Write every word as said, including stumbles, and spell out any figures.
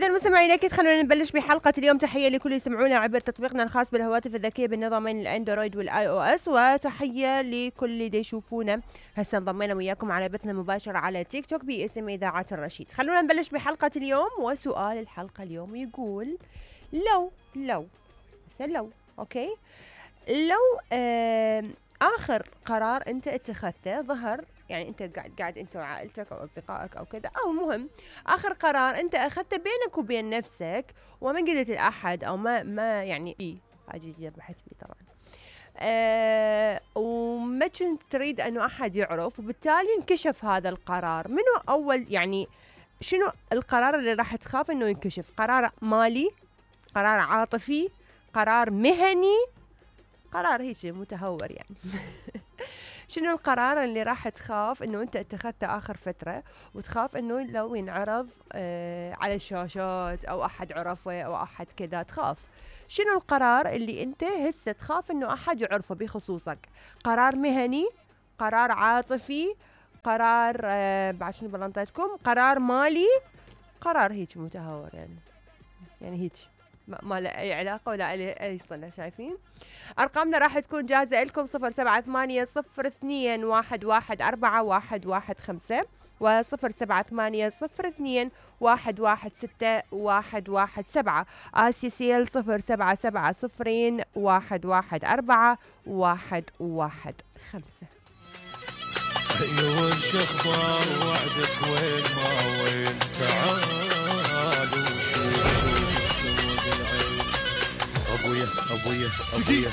إذا المستمعين أكيد خلونا نبلش بحلقة اليوم. تحية لكل اللي يسمعونا عبر تطبيقنا الخاص بالهواتف الذكية بالنظامين الأندرويد والآي أو إس، وتحية لكل اللي يشوفونا هسه. انضمينا وياكم على بثنا مباشر على تيك توك باسم إذاعة الرشيد. خلونا نبلش بحلقة اليوم، وسؤال الحلقة اليوم يقول لو لو لو أوكي لو آه آخر قرار أنت اتخذته ظهر، يعني أنت قاعد قاعد أنت وعائلتك أو أصدقائك أو كذا، أو مهم آخر قرار أنت أخذته بينك وبين نفسك وما قلت لأحد أو ما ما يعني إيه حاجة جديدة بحث بي طبعا أه وما كنت تريد أنه أحد يعرف، وبالتالي انكشف هذا القرار. منو أول يعني شنو القرار اللي راح تخاف أنه ينكشف؟ قرار مالي، قرار عاطفي، قرار مهني، قرار هيك متهور يعني شنو القرار اللي راح تخاف انه انت اتخذته اخر فترة وتخاف انه لو ينعرض آه على الشاشات او احد عرفه او احد كذا تخاف؟ شنو القرار اللي انت هسه تخاف انه احد يعرفه بخصوصك؟ قرار مهني، قرار عاطفي، قرار آه بعد شنو بلنطيتكم، قرار مالي، قرار هيك متهور يعني يعني هيك ما له أي علاقة ولا أي صلة. شايفين أرقامنا راح تكون جاهزة لكم صفر سبعة ثمانية صفر اثنين واحد واحد أربعة واحد واحد خمسة وصفر سبعة ثمانية صفر اثنين واحد واحد ستة واحد واحد سبعة. آسيا سيل صفر سبعة سبعة صفرين واحد واحد أربعة واحد واحد خمسة. أيوة شخبار وعدك وين ما وين تعالوا شوفوا السود العين. أبويا أبويا أبويا